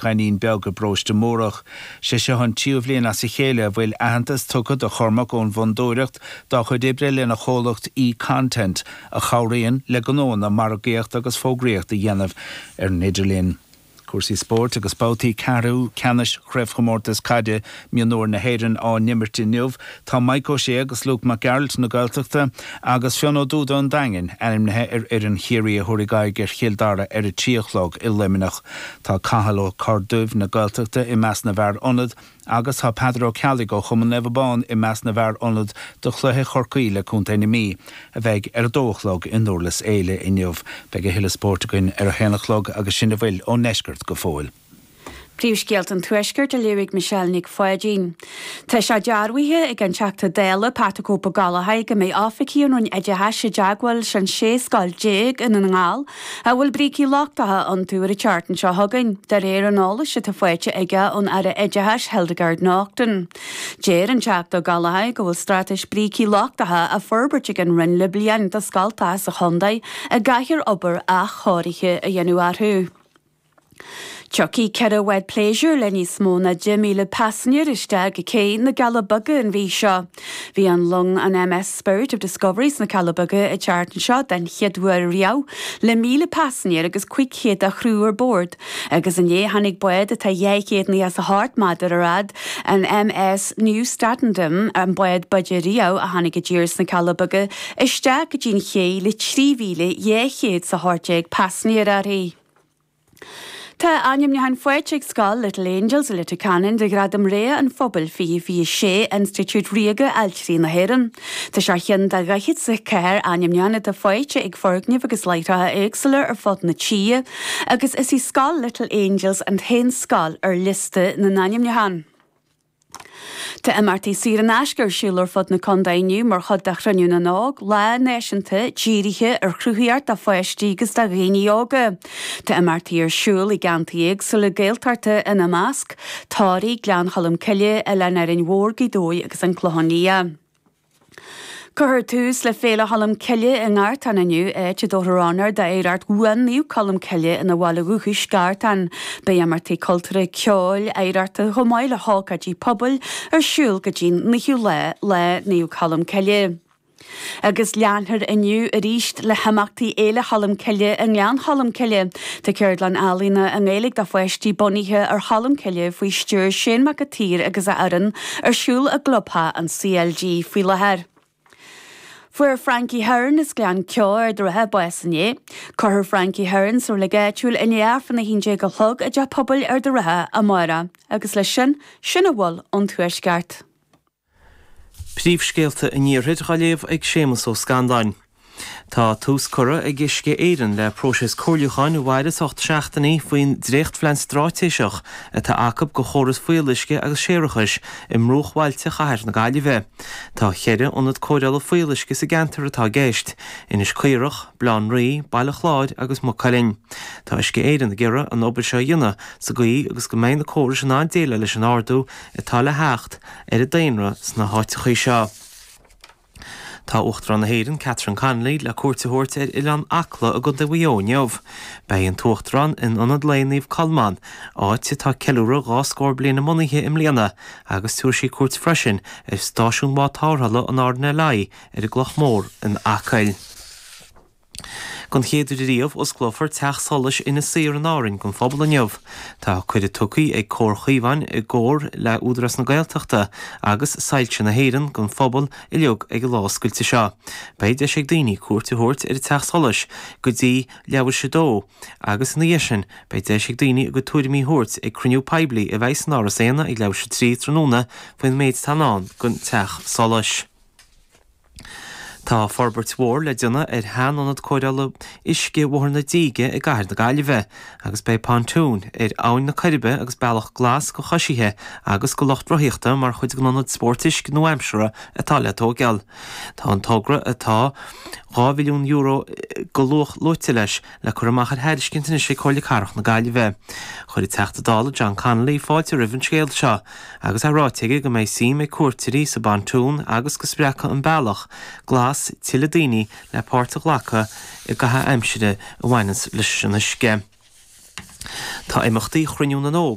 Dhainín Beag i bparóiste Múrach. Sé seo an tríú bhliain as a chéile a bhfuil aitheantas tugtha do Chormac ón bhFondúireacht dá chuid oibre lena chomhlacht eContent a chabhraíonn le gnóanna margaíocht agus fógraíocht a dhéanamh ar an idirlíon. Cúrsaí spóirt agus babhtaí ceathrú ceannais Chraobhchomórtas Caide Mionúir na hÉireann á n-imirt inniu. Tá Mike O'Shea agus Luke Mac Gearailt na Gaeltachta agus Fionn Ó Dúda an Daingin ainmnithe ar fhoireann Chiarraí a thabharfaidh aghaidh ar Chill Dara ar a 3 a chlog i Luimneach. Tá Cathal Ó Corrduibh na Gaeltachta i measc na bhfear ionad agus tá Peadar Ó Ceallaigh ó Chumann Naomh Abán i measc na bhfear ionad do chluiche Chorcaí le Contae na Mí a bheidh ar a dó a chlog i nDurlas Éile inniu. Beidh a thuilleadh spóirt againn ar a haon a chlog agus sin a bhfuil ón ndeisceart go fóill. Príomhscéalta an Tuaiscirt á léamh ag Michelle Nic Pháidín. Tá sé dearbhaithe ag an Teachta Dála Pat 'The Cope' Ó Gallchóir go mbeidh oifigigh ón Roinn Oideachais i dteagmháil leis an 16 scoil i nDún na nGall a bhfuil brící lochtacha iontu ar an tseachtain seo chugainn, de réir an eolais atá faighte aige ón Aire Oideachais Hildegarde Naughton. Deir an Teachta Ó Gallchóir go bhfuil straitéis brící lochtacha á forbairt ag an Roinn le bliain do scoltacha sa chontae a gcaithfear obair athchóirithe a dhéanamh orthu. Tiocfaidh 4 bhád pléisiúir le níos mó ná 10,000 paisinéir isteach go cé na gCealla Beaga an mhí seo. Bhí an long an MS Spirit of Discovery sna Cealla Beaga an tseachtain seo den chéad uair riamh le 1,000 paisinéir agus 500 dá chriú ar bord agus inné tháinig bád atá 298 méadar ar fhad, an MS Nieuw Statendam, an bád b'fhaide riamh a tháinig i dtír sna Cealla Beaga, isteach go dtí an ché le 3,218 paisinéir uirthi. Tá ainmniúchán faighte ag scoil Little Angels i Leitir Ceanainn do Ghradam Rogha an Phobail 2026 Institiúid Ríoga Ailtirí na hÉireann. Tá sé ar cheann de 44 ainmniúchán atá faighte ag foirgnimh agus láithreacha éagsúla ar fud na tíre agus is í scoil Little Angels an t-aon scoil ar liosta na n-ainmniúchán. Tá imeachtaí saor in aisce ar siúl ar fud na contae inniu mar chuid de Chruinniú na nÓg, lá náisiúnta dírithe ar chruthaíocht do pháistí agus do dhaoine óga. Tá imeachtaí ar siúl i gceantair éagsúla Gaeltachta ina measc, Toraigh, Gleann Cholm Cille, Oileán Árainn Mhór, Gaoth Dobhair agus An Clochán Liath. Cuirfear tús le Féile Cholm Cille i nGartán inniu, áit a dtabharfar onóir d'oidhreacht bhuan Naomh Colm Cille ina bhaile dhúchais, Gartán. Beidh imeachtaí cultúrtha, ceoil, oidhreachta chomh maith le hócáidí pobail ar siúl go dtí'n 9ú lá, Lá Naomh Colm Cille. Agus leanfar inniu arís le himeachtaí Fhéile Cholm Cille i nGleann Cholm Cille. Tá ceardlann ealaíona i nGaeilge do pháistí bunaithe ar Cholm Cille faoi stiúir Shane Mac an tSaoir agus a fhoireann ar siúl i gclubtheach an CLG faoi láthair. Fuair Frankie Hearn as Gleann Ceo, Ard an Rátha, bás inné. Cuirfear Frankie Hearn sa reilig áitiúil i ndiaidh Aifreann 11 a chlog i dTeach Pobail Ard an Rátha amárach. Agus leis sin, sin a bhfuil ón Tuaisceart. Príomhscéalta an Iarthair á léamh ag Séamus Ó Scanláin. Tá tús curtha ag Uisce Éireann le próiseas comhairliúcháin a mhairfeas 8 seachtainí faoin dréachtphlean stráitéiseach atá acu do chóras fuíolluisce agus séarachais i mbruachbhailte chathair na Gaillimhe. Tá cheithre ionad cóireála fuíolluisce sa gceantar atá i gceist, Inis Caorach, Baile Átha an Rí, Baile Chláir agus Maigh Cuilinn. Tá Uisce Éireann ag iarraidh an obair seo a dhéanamh sa gcaoi agus go mbeidh na córais in ann déileáil leis an ardú atá le theacht ar an daonra sna háiteachaí seo. Tá Uachtarán na hÉireann, Catherine Connolly, le cuairt a thabhairt ar Oileán Acla i gContae Mhaigh Eo inniu. Beidh an tUachtarán in Ionad Lae Naomh Colmán, áit atá ag ceiliúradh dhá scór bliain a mbunaithe i mbliana, agus tabharfaidh sí cuairt freisin ar stáisiún bád tarrthála an RNLI ar an gCloch Mhór in Acaill. Don chéad uair riamh, osclófar Teach Solais Inis Oírr in Árainn don phobal inniu. Tá cuireadh tugtha ag Comhar Chaomháin i gcomhar le Údarás na Gaeltachta agus Soilse na hÉireann don phobal uilig ag an lá oscailte seo. Beidh deis ag daoine cuairt a thabhairt ar an Teach Solais go dtí leathuair théis a dó agus ina dhiaidh sin beidh deis ag daoine a gcuid tuairimí a thabhairt ag cruinniú poiblí a bheidh san Áras Éanna ag leathuair théis a 3 tráthnóna faoin méid atá i ndán don Teach Solais. Tá forbairt mhór le déanamh ar shean-ionad cóireála uisce Bhóthar na Díge i gcathair na Gaillimhe agus beidh pontún ar Abhainn na Coiribe agus bealach glas do choisithe agus do lucht rothaíochta mar chuid den ionad spóirt uisce nua-aimseartha atá le tóigeáil. Tá an togra atá €2 mhilliún de luach luaite leis le cur amach ar thairiscint anois ag Comhairle Cathrach na Gaillimhe. Chuir an Teachta Dála John Connolly fáilte roimh an scéal seo agus é ráite aige go mbeidh suim ag cuairteoirí sa bpontún agus go spreagfaidh an bealach glas tuilleadh daoine le páirt a ghlacadh i gcaitheamh aimsire a bhaineanns leis an uisce. Tá imeachtaí Chruinniú na nÓg.